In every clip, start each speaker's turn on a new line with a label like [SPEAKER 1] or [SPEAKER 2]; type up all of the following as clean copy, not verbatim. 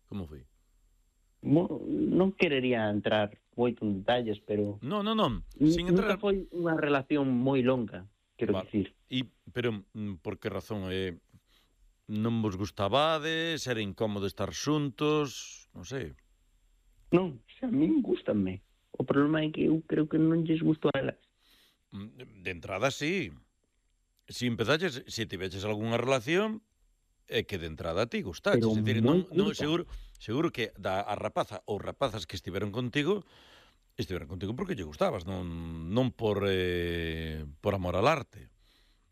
[SPEAKER 1] Como foi?
[SPEAKER 2] Non querería entrar moito en detalles, pero
[SPEAKER 1] Non, sin
[SPEAKER 2] nunca
[SPEAKER 1] entrar...
[SPEAKER 2] foi unha relación moi longa, quero
[SPEAKER 1] Vale.
[SPEAKER 2] dicir.
[SPEAKER 1] Pero por que razón? Non vos gustabades? Era incómodo estar xuntos? Non sei.
[SPEAKER 2] Non, a min gústanme. O problema é que eu creo que non lles gusto a elas.
[SPEAKER 1] De entrada, sí. Se tiveches algunha relación, é que de entrada a ti gustaches.
[SPEAKER 2] Pero
[SPEAKER 1] É dicir,
[SPEAKER 2] moi
[SPEAKER 1] non,
[SPEAKER 2] curta.
[SPEAKER 1] seguro que a rapaza ou rapazas que estiveron contigo porque lle gustabas, non por amor al arte.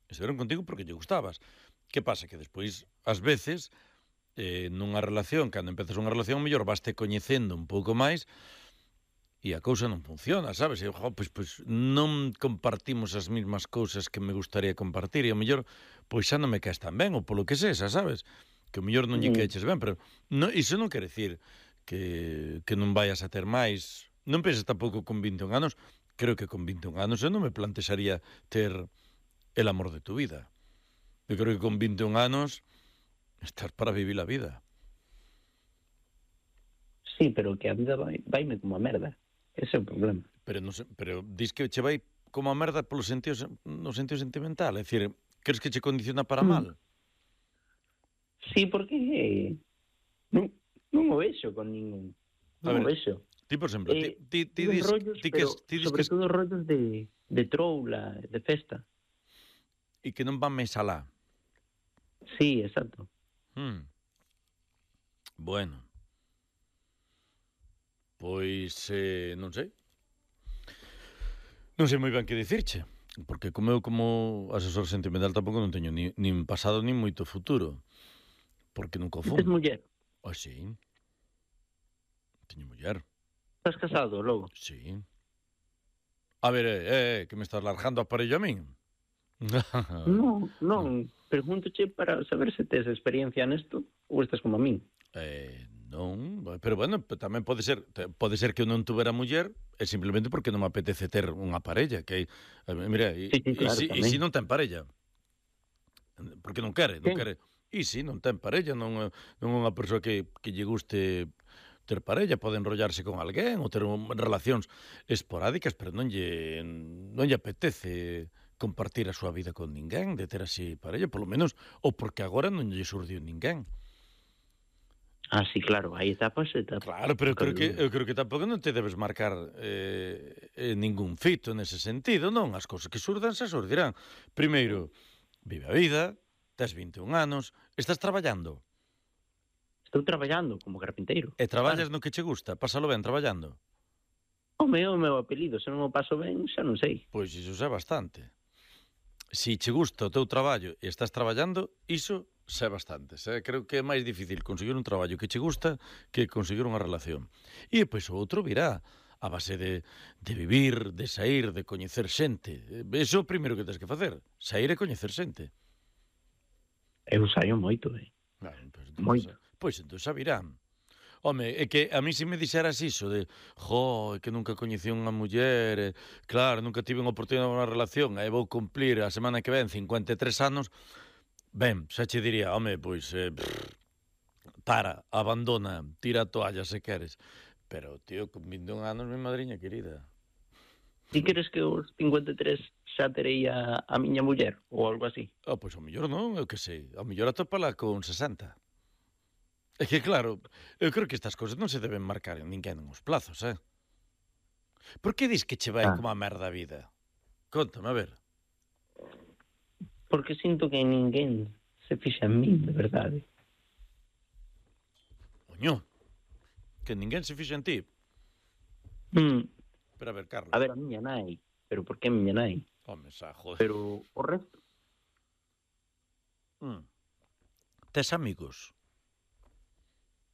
[SPEAKER 1] Estiveron contigo porque lle gustabas. Que pasa? Que despois, ás veces, nunha relación, cando empezas unha relación, mellor vaste coñecendo un pouco máis e a cousa non funciona, sabes? E, pois non compartimos as mesmas cousas que me gustaría compartir e o mellor, pois xa non me caes tan ben, ou polo que sexa, sabes? Que o mellor non lle caeches ben, pero iso non quere decir que non vayas a ter máis. Non penses tampouco con 21 anos, creo que con 21 anos eu non me plantexaría ter el amor de tu vida. Eu creo que con 21 anos estás para vivir a vida.
[SPEAKER 2] Sí, pero que a vida vaime como a merda. Ese é o problema.
[SPEAKER 1] Pero dis que che vai como a merda no sentido sentimental, é dicir, crees que che condiciona para mal?
[SPEAKER 2] Sí, porque non o vexo con ningún. Non o vexo.
[SPEAKER 1] Ti, por exemplo, ti dis
[SPEAKER 2] rollos, sobre todo rollos de troula, de festa.
[SPEAKER 1] E que non van máis alá.
[SPEAKER 2] Sí, exacto.
[SPEAKER 1] Bueno. Pois, non sei. Non sei moi ben que dicirche, porque como eu como asesor sentimental tampouco non teño nin pasado nin moito futuro, porque nunca o fun.
[SPEAKER 2] Tes muller?
[SPEAKER 1] Sí. Teño muller.
[SPEAKER 2] Estás casado, logo?
[SPEAKER 1] Sí. A ver, que me estás largando aparello a min?
[SPEAKER 2] Non, pregúntoche para saber se tes experiencia nesto ou estás como a min.
[SPEAKER 1] Non, pero bueno, tamén pode ser que eu non tuvera muller é simplemente porque non me apetece ter unha parella, que mira,
[SPEAKER 2] claro,
[SPEAKER 1] e se non ten parella? Porque non quere. E se non ten parella, non é unha persoa que lle guste ter parella, pode enrollarse con alguén ou ter relacións esporádicas, pero non lle apetece compartir a súa vida con ninguén, de ter así parella, polo menos, ou porque agora non lle surdiu ninguén.
[SPEAKER 2] Ah, sí, claro, hai etapas.
[SPEAKER 1] Claro, pero eu creo que tampouco non te debes marcar ningún fito nese sentido, non? As cousas que surdan se surdirán. Primeiro, vive a vida, tes 21 anos, estás traballando.
[SPEAKER 2] Estou traballando como carpinteiro.
[SPEAKER 1] E traballas no que che gusta, pásalo ben traballando.
[SPEAKER 2] O meu apelido, se non o paso ben, xa non sei.
[SPEAKER 1] Pois iso xa bastante. Se che gusta o teu traballo e estás traballando, iso xa bastante. Creo que é máis difícil conseguir un traballo que che gusta que conseguir unha relación. E depois o outro virá a base de vivir, de sair, de coñecer xente. Iso é o primeiro que tens que facer, sair e coñecer xente.
[SPEAKER 2] Eu saio moito, moito.
[SPEAKER 1] Pois entón xa virán. Home, é que a mí se me dixeras iso de que nunca coñecí unha muller, claro, nunca tive unha oportunidade de unha relación, e vou cumplir a semana que ven 53 anos, ben, xa che diría, home, pois, abandona, tira a toalla se queres. Pero, tío, con 21 anos, mi madriña querida.
[SPEAKER 2] Ti queres que os 53 xa terei a miña muller, ou algo así?
[SPEAKER 1] Pois o mellor non, eu que sei, o mellor atópala con 60. É que, claro, eu creo que estas cousas non se deben marcar en ninguén nos plazos, Por que dis que che vai como a merda a vida? Conta-me, a ver.
[SPEAKER 2] Porque sinto que ninguén se fixa en min, de verdade.
[SPEAKER 1] Coño, que ninguén se fixa en ti? Pero a ver, Carlos.
[SPEAKER 2] A ver, a miña nai. Pero por que a miña nai?
[SPEAKER 1] Home, xa, joder.
[SPEAKER 2] Pero o resto?
[SPEAKER 1] Tes amigos?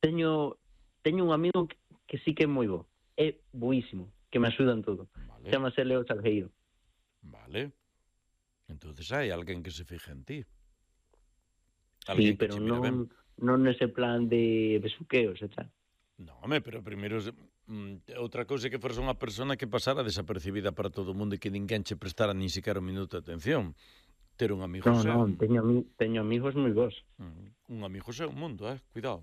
[SPEAKER 2] Teño un amigo que sí que é moi bo. É boísimo, que me axuda en todo.
[SPEAKER 1] Vale.
[SPEAKER 2] Chámase Leo Salgueiro.
[SPEAKER 1] Vale. Entonces hai alguén que se fija en ti.
[SPEAKER 2] Sí, pero non nese plan de besuqueos e tal.
[SPEAKER 1] Non, home, pero primeiro outra cousa que fores unha persona que pasara desapercibida para todo o mundo e que ninguén che prestara nin siquiera un minuto de atención. Ter un amigo
[SPEAKER 2] Non, teño amigos moi bons.
[SPEAKER 1] Un amigo é un mundo, cuidado.